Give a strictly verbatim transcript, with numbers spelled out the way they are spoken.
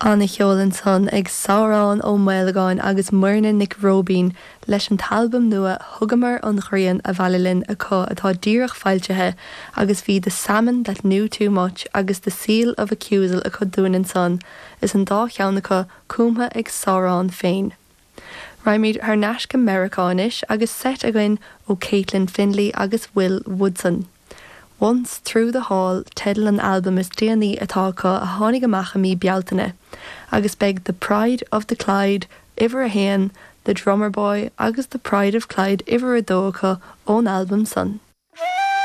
An-cheol ansan ag Sárán Ó Maolagáin agus Muirne Nic Róibín leis an t-albam nua Thugamar an Ghrian Abhaile Linn acu atá díreach foilsithe agus bhí The Salmon That Knew Too Much agus The Seal of Accusal acu dúinn ansan is an dá cheann acu cumtha ag Sárán féin. Raghaimid thar n-ais go Meiriceá anois agus seit againn ó Caitlin Finley agus Will Woodson. Once Through the Hall teideal an albam is déanaí atá acu a tháinig amach i mí Bealtaine, agus beidh The Pride of the Clyde uimhir a haon, The Drummer Boy agus The Pride of Clyde uimhir a dó acu ón albam san.